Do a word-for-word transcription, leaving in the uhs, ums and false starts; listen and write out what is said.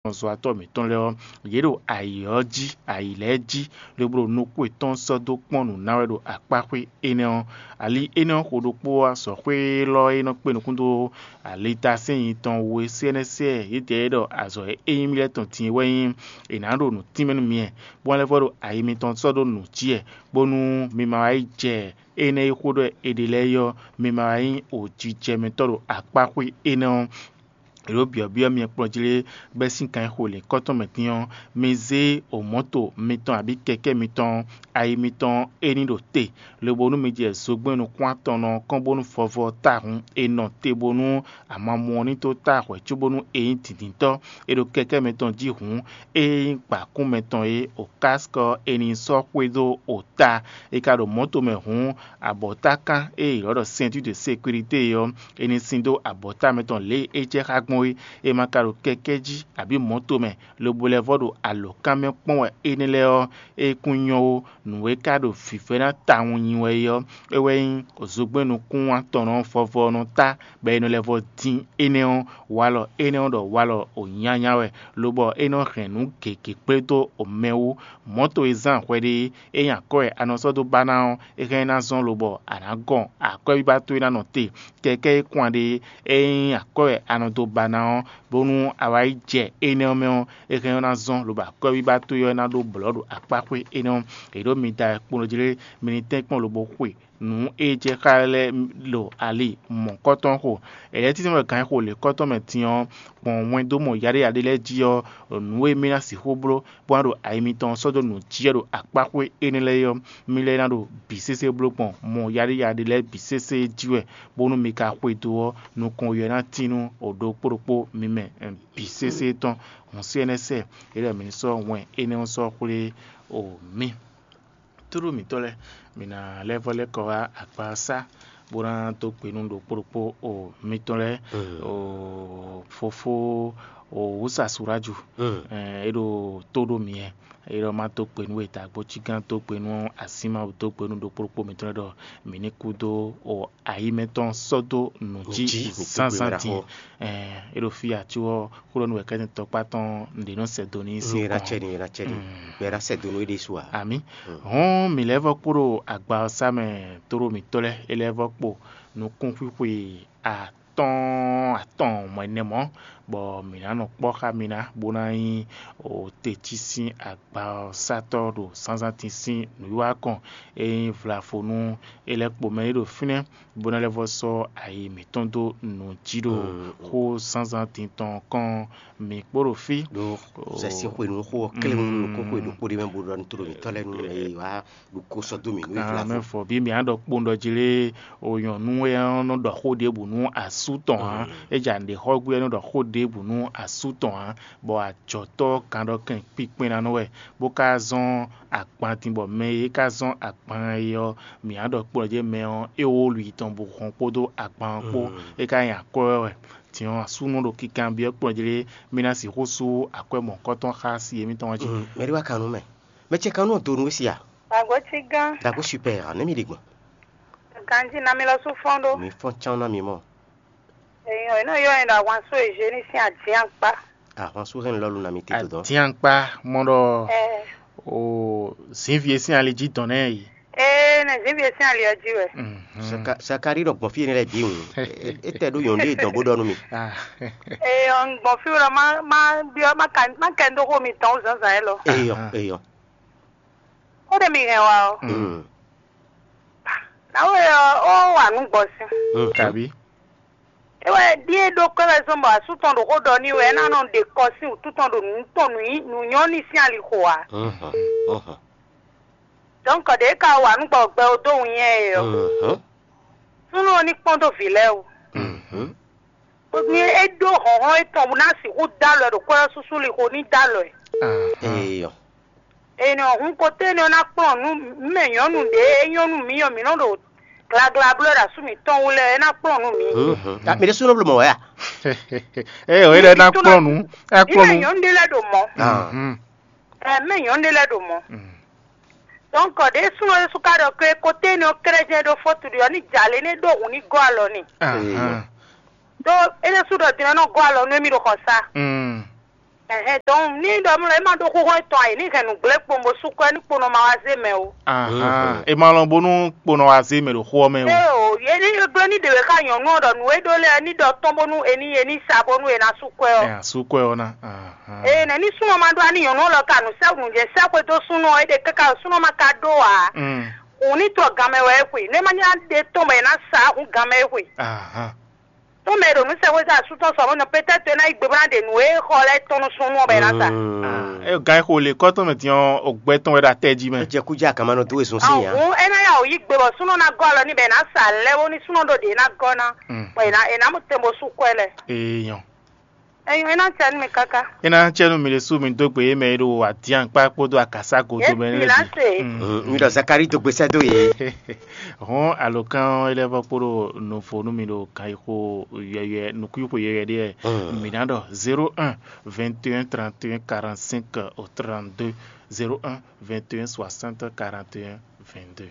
zɔ́watɔ́ mǐtɔn lɛ́ɛ ɔ́, yě ɖo ayǐ ɔ́ jí, ayǐ lɛ́ɛ jí, lobo ɖo nukún yětɔn sɔ́ dó kpɔ́n nǔ ná wɛ ɖo akpáxwé énɛ́ ɔ́. Ali énɛ́ ɔ́ xo ɖokpó ɔ́, azɔ̌xwé élɔ́ e nɔ kpé nukún dó alitasɛ́nyi tɔn we sɛ́nɛ́sɛ́ yědɛɛ ɖɔ azɔ̌ e é nyí mì lɛ́ɛ tɔn din é wɛ nyí è nǎ ɖo nǔ tínmɛ nú myɛ, bó ná lɛ́ vɔ́ ɖo ayi mitɔn sɔ́ dó nǔ jí wɛ, bónú mi ma wá yi jɛ énɛ́ e xó ɖɔ è ɖe lɛ́ɛ é ɔ́, mi ma wá nyí wǒjijɛmɛtɔ́ ɖo akpáxwé énɛ́ ɔ́. È ɖǒ byɔ̌byɔ́ myɛ kplɔ́njí lé bɛ́ sín kan e xo lǐnkɔ́ tɔn mɛ din ɔ́, mi zé omɔ̌to mitɔn abǐ kɛkɛ́ mitɔn, ayi mitɔn é ní ɖo te, lobo nú mi jɛ zogbɛ́n nukún-atɔnnɔ ɔ́ kɔn bónú vɔvɔ ɔ́ táhun è nɔ te bónú amamú ɔ́ ní tó tá hwɛ̌ cóbónú è nyí dǐndíntɔ́ e ɖo kɛkɛ́ mɛtɔn jí hǔn, é nyí gbǎkún mɛtɔn é, okáskɔ è nǐ sɔ́ xwedó ota. È ka ɖo mɔ̌to mɛ hǔn, abɔ̌takán e è ylɔ́ ɖɔ ceinture de sécurité é ɔ́, è nǐ sin dó abɔ̌ta mɛtɔn lě e é jɛ xá gbɔn é. È ma ka ɖo kɛkɛ́ jí abǐ mɔ̌to mɛ, lobo lɛ́ vɔ́ ɖo alǒkan mɛ kpɔ́n wɛ énɛ́ lɛ́ɛ ɔ́, é kún nyɔ́ ó. Nǔ e ka ɖo vǐvɛ́ná tawun nyi wɛ é ɔ́, é wɛ nyí zogbɛ́n nukún-atɔnnɔ vɔvɔ ɔ́ nɔ tá, bɔ è nɔ lɛ́ vɔ́ dín énɛ́ ɔ́, walɔ énɛ́ ɔ́ ɖɔ walɔ wǒnyanya wɛ, lobɔ é nɔ hɛn nǔ gěgé kplé dó mɛ wú. Mɔ̌to e zán hwɛɖée é nyí akwɛ́ wɛ a nɔ sɔ́ dó ba ná ɔ́, é hɛn ná zɔ́n lobɔ a nǎ gɔn akwɛ́ bíbá towe ná nɔ te. Kɛkɛ́ e kwan ɖe é nyí akwɛ́ wɛ a nɔ dó ba ná ɔ́, bónú a wá yi jɛ énɛ́ ɔ́ mɛ ɔ́, é hɛn ɔ́ ná zɔ́n, lobo akwɛ́ bíbá towe ɔ́ ná ɖó blɔ̌ ɖo akpáxwé énɛ́ ɔ́. È ɖǒ mi da wɛ kplɔ́n jí lé, mi ní tɛ́nkpɔ́n lobo xwe nǔ e jɛ xá lɛ́ɛ ɖo ali mɔ̌kɔ́tɔn xo. È lɛ́ tínmɛ wɛ gǎn e xo lěkɔ́tɔn mɛ din ɔ́, gbɔn wɛn dó mɔ yaɖéyaɖé lɛ́ɛ jí ɔ́, nǔ e mì ná sixú bló bó ná ɖo ayi mitɔn sɔ́ dó nǔ jí wɛ ɖo akpáxwé énɛ́ lɛ́ɛ é ɔ́, mi lɛ́ ná ɖo bǐ sésé bló gbɔn mɔ yaɖéyaɖé lɛ́ɛ bǐ sésé jí wɛ, bónú mi ka xwedó ɔ́, nukɔn ɔ́ ná tín nú ɖokpó ɖokpó mi mɛ bǐ sésé tɔn. Hǔn sí ɛnɛ́ sɛ, é ɖɔ mǐ ní sɔ́ wɛn énɛ́ ɔ́ sɔ́ xwlé o mì. Tlóló mǐtɔn lɛ́ɛ, mǐ ná lɛ́ vɔ́ lɛ́ kɔ wá akpasá, bó ná dó gbe nú ɖokpó ɖokpó o mitɔn lɛ́ɛ, o fofó o wǔsa Suráju, é ɖo tó ɖó mǐ wɛ. É ɖɔ má dó gbe nú we, dǎgbó cí gán dó gbe nú así Mawu, dó gbe nú ɖokpó ɖokpó mitɔn lɛ́ɛ ɖɔ mǐ ní kú dó o ayǐmɛtɔn sɔ́ dó nǔ jí zánzán din. É ɖo fí ǎ, có ɔ́, xó ɖɔ nú wɛ̌kɛ́tɛn tɔkpá tɔn ɖě nɔ sɛ do n'i sín kɔn. Ná cɛ ni, ná cɛ ni, bɔ é ná sɛ do nú é ɖésú ǎ. Amǐ. Hɔn mǐ lɛ́ vɔ́ kpo ɖo agba ɔ́ sá mɛ tlóló mǐtɔn lɛ́ɛ, é lɛ́ vɔ́ kpo nukúnxwíxwe atɔ́ɔ́n atɔn mɔ ɛnɛ mɔ̌, bɔ mǐ ná nɔ kpɔ́ xá mi ná, bó ná nyí o te cí sín agba ɔ́ sátɔ́ ɖo zǎnzǎn din sín nǔwiwa kɔn. É nyí vlavo nú é lɛ́ kpo mɛ e ɖo fínɛ́, bó ná lɛ́ vɔ́ sɔ́ ayi mǐtɔn dó nǔ jí ɖo xó zǎnzǎn din tɔn kɔn mǐ kpó ɖo fí. Ɖó zɛ sín xwenu xó ɔ́ klé nú nukúnxwe ɖokpó ɖé mɛ bó ɖɔ nú tlóló mǐtɔn lɛ́ɛ nú mɛ e wá ɖu kó sɔ́ dó mǐ nú Amɛ ìflafo. Fɔ bí mǐ á ɖɔ kpowun ɖɔ jí lé, o nyɔ̌nu e ɔ́ nɔ ɖɔ xó ɖěbǔ nú asú tɔn ǎ. É jɛ nǔɖé xɔ gbé ɔ́ nɔ ɖɔ xó ɖěbǔ nú asú tɔn ǎ, bɔ ajɔ̌tɔ́ ɔ́ kan ɖɔ kɛn kpíkpɛ́n ná nɔ wɛ, bó ka zɔ́n agban din bɔ mɛ e é ka zɔ́n agban e ɔ́, mǐ á ɖɔ kplɔ́n jɛ mɛ ɔ́, é wó lu yi tɔn bó hɔn kpódó agban ɔ́ kpó, é ka nyi akwɛ́ wɛ. Din ɔ́, asúnɔ ɖo kinkanbyɔ́ kplɔ́n jɛ lé, mí ná sixú sú akwɛ́ mɔ̌hunkɔtɔn xá si émítɔn ɔ́ jí. Mɛ ɖé wá kan nú mɛ. Mɛ ce kan nú ɔ́ do nú we si a? Dǎgbó cí gán. Dǎgbó super a, nɛ̌ mi ɖe gbɔn? Ganjí ná mi lɔ sú fɔ́n ɖó. Mi fɔ́n cán ná mi mɔ. Èèyàn iná yọ ẹ̀rọ àwọn aṣọ ìṣe ní sí àdín àpá. Àwọn aṣọ hẹ́n lọ́lù nà mi tètè dán. Àdín àpá mọ́ ɖɔ o zǐnvi e sín ali jí dɔn nɛ yi. Ee, nɛ zǐnvi e sín ali ɔ́ jí wɛ. Sakari ɖɔ gbɔn fí yẹn lɛ bí ŋu. E tɛ ɖó yɔn ɖé dɔn bó ɖɔ nú mi. Ee, ɔn gbɔn fí wɛ má má byɔ má ka má kɛ ndó xó mi tɔn zǎnzǎn yɛ lɔ. Eyɔ eyɔ. Ó ɖe mi hɛn wa ɔ. Nawe ɔ, ó wà nú gbɔ sí. Kabi. Ewɛ ɖíe ɖó kpɛ́ wɛ zɔn bɔ asú tɔn ɖo xó ɖɔ n'i wɛ é ná nɔ ɖe kɔ sín wǔtu tɔn ɖo nǔ tɔn nǔ nyí nǔ nyɔ́ n'i sín ali xo ǎ. Dɔ̌nkɔ ɖě ka wà nú gbɔ gbɛ ó dó wun nyɛ e ɔ́, súnnu ɔ́ ní kpɔ́n dó vǐ lɛ́ɛ wú. Ní é ɖó hlɔ̌nhlɔ́n étɔn bó ná sixú dó alɔ ɛ ɖo kwɛ́ ɔ́ súsú lixo ní dó alɔ ɛ. Eyɔ. Ènìyàn hun koté énɛ́ ɔ́ ná kplɔ́n nǔ mɛ nyɔ̌nu ɖě é nyɔ́ nú mǐ ɔ́, mǐ nɔ ɖo glagla bló ɖo asú mǐtɔn wú lɛ́ɛ é ná kplɔ́n nú mǐ. Mi ɖésú nɔ bló mɔ wɛ a? Eye wòye lɛ ná kplɔ́n nǔ, é Mǐ kplɔ́n mɛ nǔ. Nyɔ̌nu ɖé lɛ́ɛ ɖo mɔ̌. Ɛ mɛ nyɔ̌nu ɖé lɛ́ɛ ɖo mɔ̌. Donc ɖě súnnu ɖésú ka ɖɔ ke koté énɛ́ ɔ́ kɛ́ɖɛ́ jɛ́n é ɖó fɔ́tu ɖi ɔ́ ní jalě ní é ɖó hǔn ní gɔ́ alɔ n'i. Ɖó é ɖésú ɖɔ din ɔ́ nɔ gɔ́ alɔ nú émí ɖo xɔsá. Ɛhɛn, donc ní ɖɔ mlɔ é ma ɖó xóxó tɔn ayǐ ní hɛn nǔgblé kpowun bó sú kɔ ní kponɔ ma wá zé mɛ o. Ahan, e ma lɔn bónú kponɔ wá zé mɛ ɖo xó ɔ́ mɛ o. Ée o, yě ní gblé ní ɖě wé xá nyɔ̌nu ɔ́ ɖɔ nǔ e ɖó lɛ́ɛ ní ɖɔ tɔn bónú è ní è ní sa bónú è ná sú kɔ ɛ ɔ́. Ɛ sú kɔ ɛ ɔ́ ná. Ahan. Eye nɛ̌ ní súnɔ ma ɖó ani nyɔ̌nu ɔ́ lɔ ka nǔ sɛ́ nǔ jɛ sɛ́ xwedó súnɔ ɔ́, é ɖe káká súnɔ ma ka ɖó ǎ. Mm. Hǔn ní trɔ gan mɛ wɛ é xwe, nú é ma nyá ɖe tɔn bɔ è nǎ sa hǔn gan mɛ é xwe. Ahan. Tó mɛ e ɖo nǔ sɛxwé dó asú tɔn sɔ mɔ̌ nɔ pétɛ́ to é ná yí gbe bó ná ɖe nǔ e xɔ lɛ́ɛ tɔn nú súnnu ɔ́ bɔ é ná sa. É gán e xo le kɔ́ tɔn mɛ din ɔ́, o gbɛ tɔn wɛ ɖo atɛ jí mɛ. É jɛ kú jɛ akama nɔ dó we zun sín nya. Hǔn é ná yá wǔ yí gbe bɔ súnnu ná gɔ́ alɔ n'i bɔ è nǎ sa lɛ́ bónú súnnu ɖó ɖě ná gɔ́ ná, bɔ è nǎ è nǎ mɔ tɛn bó sú kɔ ɛ lɛ. Ee nyɔ. Enyo é ná cɛ nú mi káká. É ná cɛ nú mi ɖésú mi dó gbe yě mɛ e ɖo adyankpá kpódó akasá godo mɛ lɛ́ɛ bǐ. Mi ɖɔ Zakalíi dó gbe sɛ́ dó yě. Hɔn alɔkán ɔ́ é lɛ́ vɔ kpódó nɔvo nú mi ɖo kan yi xo yɛyɛ nukúnyi xo yɛyɛ ɖé wɛ. Mi ná ɖɔ zéro un vingt et un trente et un quarante-cinq au trente-deux, zéro un vingt et un soixante quarante et un vingt-deux.